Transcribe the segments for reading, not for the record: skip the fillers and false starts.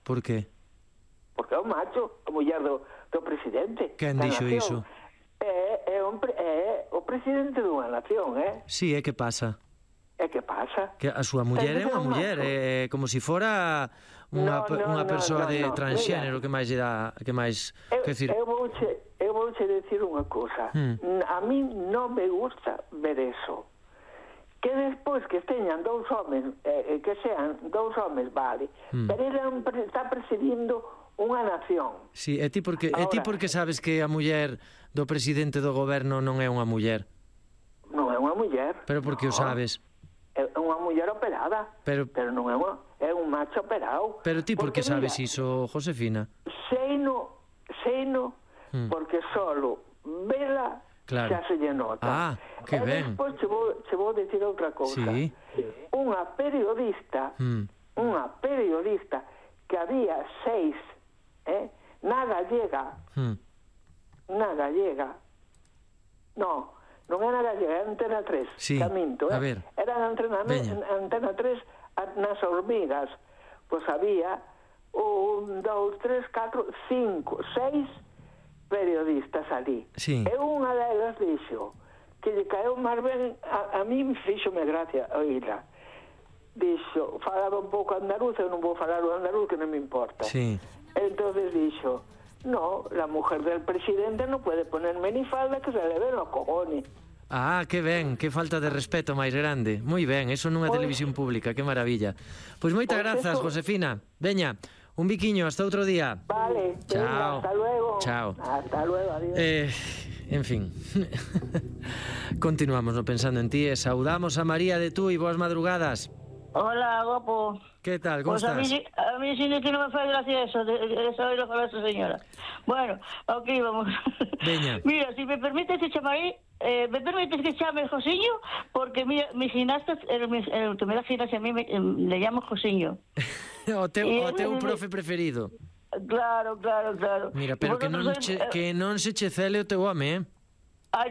Por qué? Porque é un macho, a muller do presidente. Quen dixo iso? É o presidente dunha nación, Sí, que pasa? E que pasa? Que a súa muller é unha muller, é como se fora unha persoa de transxénero. Que máis lle dá, que máis, que decir... Eu vouche decir unha cousa. A mí non me gusta ver eso. Que despois que teñan dous homes, que sean dous homes, vale, pero ele está presidindo unha nación. Sí, e ti porque sabes que a muller do presidente do goberno non é unha muller? Non é unha muller. Pero porque o sabes? É unha muller operada, pero non é un macho operado. Pero ti por que sabes iso, Josefina? Seino, porque solo vela xa se lle nota. Que ben. E despois che vou decir outra cousa. Sí. Unha periodista que había 6 na gallega, non era gallega, era Antena 3, sí. Caminto, a ver. Era Antena 3 nas hormigas, pois había 1, 2, 3, 4, 5, 6 periodistas ali. Sí. E unha delas dixo que lle caeu máis ben, a mí fíxome gracia oíla. Dixo, falaba un pouco andaluz, eu non vou falar o andaluz que non me importa. Sí. Entonces dixo, no, la mujer del presidente no puede poner minifalda que se le ven los cojones. Que ben, que falta de respeto máis grande. Moi ben, eso nunha televisión pública, que maravilla. Pois moitas grazas, Josefina. Veña, un biquiño, hasta outro día. Vale, chao. Hasta luego. Chao. Hasta luego, adiós. En fin. Continuamos no Pensando en Ti e saudamos a María de Tui. Boas madrugadas. Hola, guapo. ¿Qué tal? ¿Cómo estás? A mí sí que no me fue gracia eso, de saber lo que habla esa señora. Bueno, ok, vamos. Veña. Mira, si me permites que llame Josiño, porque mira, mi gimnasta, el que me da gimnasia a mí, le llamo Josiño. o teu profe preferido. Claro. Mira, pero que non se che cele o teu home, Ay,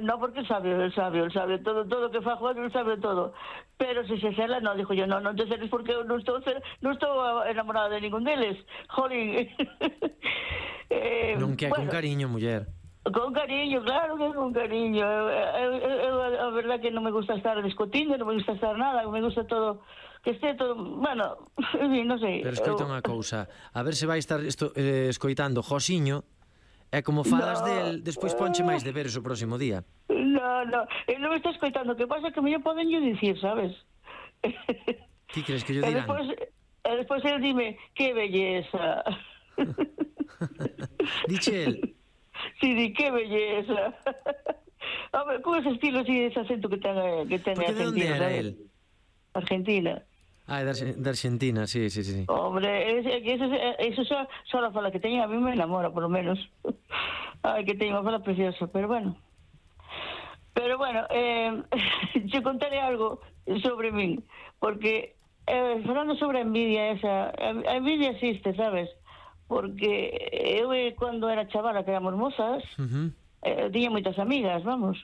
no, porque él sabe todo que fa Juan, él sabe todo. Pero si se cela, no, dijo yo, no te celes porque no estou enamorada de ningún deles. Jolín. Non que é con cariño, muller. Con cariño, claro que con cariño. A verdad que non me gusta estar discutindo, non me gusta estar nada, me gusta todo, que esté todo, bueno, non sei. Pero escoita unha cousa, a ver se vai estar escoitando Josiño. É como falas del, despois ponche máis deberes o próximo día. No, ele non me está escoitando, que pasa que me poden yo dicir, sabes? Ti crees que yo dirán? Despois ele dime, que belleza. Diche el? Sí, que belleza. A ver, con ese estilo, así, ese acento que ten Argentina. ¿De dónde era él? Argentina. De Argentina, sí. Hombre, eso só fala que teña, a mí me enamora, por lo menos. Ay, que teña unha fala preciosa, pero bueno, yo contaré algo sobre mí, porque falando sobre a envidia esa, a envidia existe, sabes? Porque eu cando era chavala, que éramos mozas, tiña moitas amigas, vamos.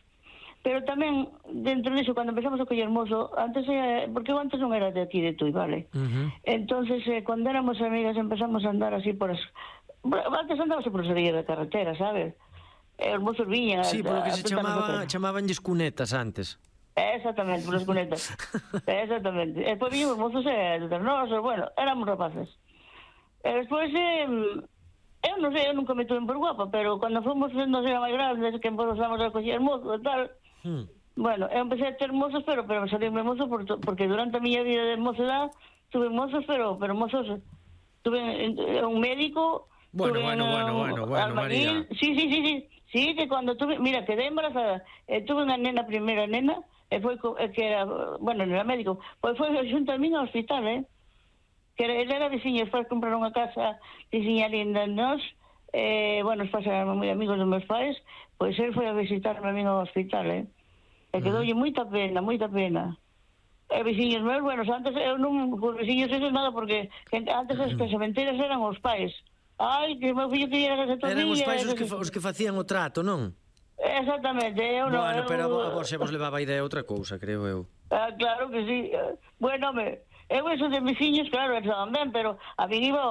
Pero tamén, dentro disso, cando empezamos a coller mozo, porque eu antes non era de aquí de Tui, vale? Entonces, cando éramos amigas, empezamos a andar así antes andábase por as orillas da carretera, sabes? Os mozos viñan... Sí, polo que se chamabanlles cunetas antes. Exactamente, por as cunetas. Exactamente. E depois viñan os mozos nosos, bueno, éramos rapaces. E despois... eu non sei, eu nunca me tuve por guapa, pero cando fomos sendo máis grandes, que empezamos a coller mozo e tal, bueno, eu empecé a ter mozos, pero salirme mozo porque durante a miña vida de mocedad tuve mozos, pero mozos, tuve un médico, bueno, albañil, María. Sí, que cando tuve, mira, quedé embarazada, tuve unha primeira nena, e foi que era, bueno, non era médico, pois foi xunto a min ao hospital, que ele era veciño, despois compraron unha casa veciña linda en nós, bueno, os pais eran moi amigos dos meus pais, pois ele foi a visitarme a min ao hospital, e quedoulle moita pena. E veciños meus, bueno, antes eu non, por veciños esos nada, porque antes as casamenteiras eran os pais. Ai, que meu fillo quería que se tomía... Eran os pais os que facían o trato, non? Exactamente, eu non... Bueno, pero a vos se vos levaba a idea outra cousa, creo eu. Claro que sí. Bueno, eu eso de veciños, claro, estaban ben, pero a min iba